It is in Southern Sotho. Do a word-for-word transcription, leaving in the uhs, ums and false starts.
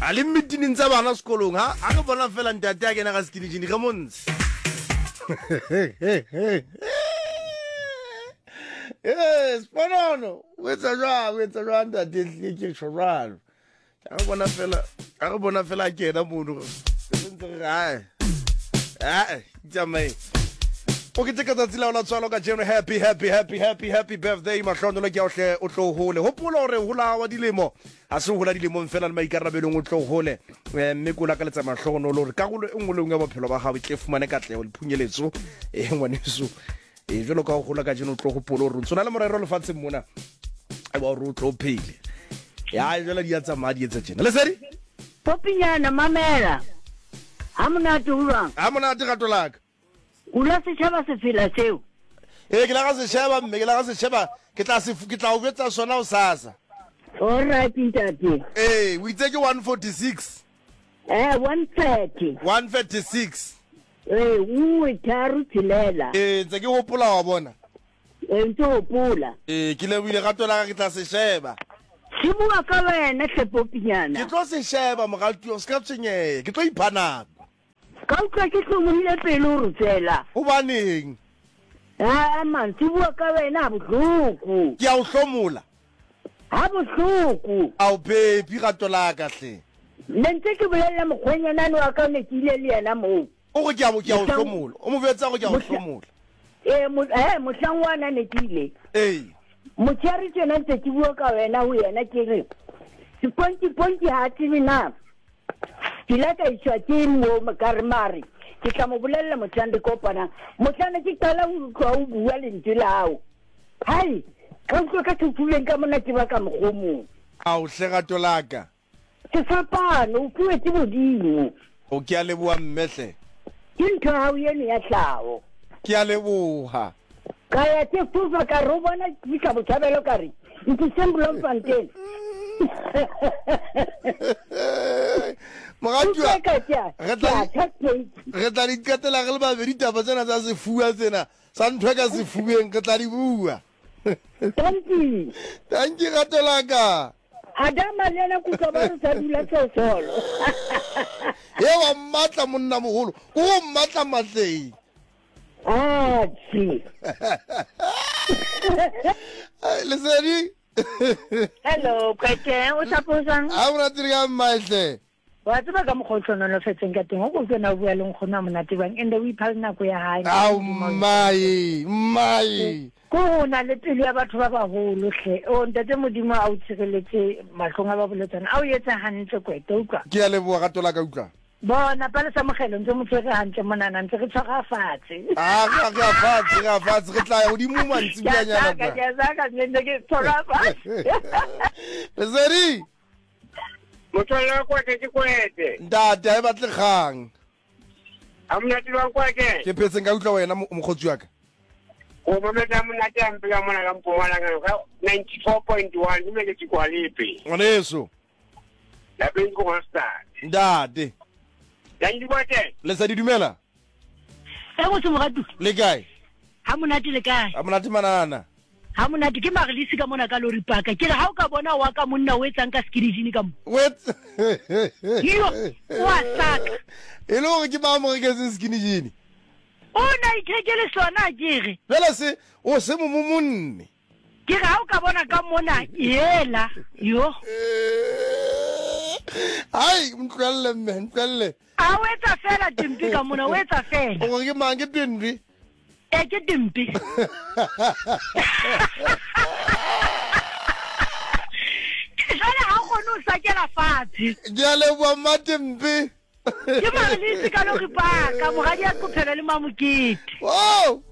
A le meeting tsa bana sekolong ha a re bona fela ntate a kena ka skinny jean re montshe. Eh, sponono, o etsa jwang, o etsa jwang ntate ehlile ke tjho jwalo. A re bona fela, a re bona fela a kena mono. Re ntse re re ae. Ae, itsamaye. O keteka tsatsi la ho la tswalo kajeno. Happy, happy, happy, happy, happy birthday. Mahlonolo ke a o hle o tlo hole. Hopola hore hola wa dilemo ha se hola dilemong fela le maikarabelong o tlo hole. Eh, mme ko lakaletsa mahlohonolo hore karolo e nngwe le nngwe ya bophelo ba hao e tle fumane katleho le phunyeletso. Eh, ngwaneso. Eh, jwalo ka ho hola kajeno o tlo hopola hore o ntso na le morero lefatsheng mona wa hore o tlo phele. Ya jwale di a tsamaya di etsa tjena. Lesedi? Popinyana mamela. Ha monate ho jwang? Ha monate rato la ka. O la setjhaba sefela seo? Ee, ke la ga se sheba mme, ke la ga se sheba. Ke tla se ke tla o jwetsa sona hosasa. All right ntate. Ee, o itse ke one forty-six. Eh, one thirty. one thirty-six. Ee, nngwe tharo tshelela. Ee, ntse ke hopola wa bona. Ee, ntse hopola. Ee, ke lebohile rato la ka, ke tla se sheba. Se bua ka wena hle Popinyana. Ke tlo se sheba moratuwa, o ska tshwenyeha, ke tlo ipha nako. Ka utlwa ke hlomohile pelo hore tsela. Hobaneng? Ah man, se bua ka wena ha bohloko. Ke a o hlomola. Ha bohloko. Ao baby rato la ka hle. Ne ntse ke bolella mokgwenyanane wa ka ne ke ile le yena moo. O re ke a ke a o hlomola. O mo jwetsa hore ke a o hlomola. Eh, mo eh mohlang wa na ne ke ile. Ee. Motshehare tjena ntse ke bua ka wena ho yena ke re seponti ponti ha tsebe na. Ke ile ka iswa ke mo ka re mare ke tla mo bolella mohlang re kopanang. Mohlang ke qala ho utlwa o bua lentswe la hao. Hai, ka utlwa ka sefubeng ka mona ke ba ka mokgomong. Ao hle rato la ka. Sefapano o fuwe ke Modimo. O ke a leboha mme hle. Ke ntho ya hao eno ya tlhaho. Ke a leboha. Ka ya ke fofa ka re o bona ke fihla Botshabelo ka re ntliseng Bloemfontein. Moratuwa, re tla re tla di qetela re le babedi taba tsena tsa sefuba tsena sa ntho e ka sefubeng re tla di bua. Tanki. Tanki rato la ka. Adama le yena kutlwa ba re sa dula sesolo. Ye wa mmatla monna moholo, o go mmatla matleng. Ah, tsi. Lesedi. Hello, Kwete, o tsaposang? Ha monate re ka mmatle. Wa tseba ka mokgwa o hlonolofetseng ka teng, o ko utlwe na o bua le nkgono a monate bang, and o ipha le nako ya hae. Ao mmae, mmae. Ko o na le pelo ya batho ba baholo hle. O ntate Modimo a o tshireletse mahlong a ba boletsana. A o etse hantle Kwete, utlwa. Ke a leboha rato la ka utlwa. Bona Palesa Mokgelo ntse mo tshwere hantle monana ntse re tshwara fatshe. Ah, re re fatshe, re fatshe, re tla ya hodimo mantsibuanyana kwa. Ke a saka, ntse ke tshwara fatshe. Lesedi. Motswalle wa Kwete ke Kwete. Ntate ha e batle kgang. Ha monate wa Kwete. Ke phetseng ka utlwa wena mokgotsi wa ka. O mamela monate a mpe ka mona ka Mpumalanga ka ninety-four point one ke mele ke kwalepe. Ngwaneso. Lapeng ko Hostad. Ntate. Tanki Kwete. Lesedi dumela. E go moratu. Le kae? Ha monate le kae? Ha monate manana. Ha monate ke Marilisi ka mona ka lori paka. Ke re ha o ka bona wa ka monna o etsang ka skinny jean ka mo. Wet. Yo, wa saka. E le hore ke ba mo reketseng skinny jean. O na ithekele sona ke re. Jwale se o se mo monne. Ke re ha o ka bona ka mona yela yo. Ai, ntlwelle mme, ntlwelle. A o etsa fela dimpi ka mona, o etsa fela. O ke mang ke dimpi? E ke dimpi. Jwale ha o kgone ho sakela fatshe. Ke a leboha mmatimpi. Ke Marilisi ka lori paka, moradi ya qophelo le Mamokete. Wow!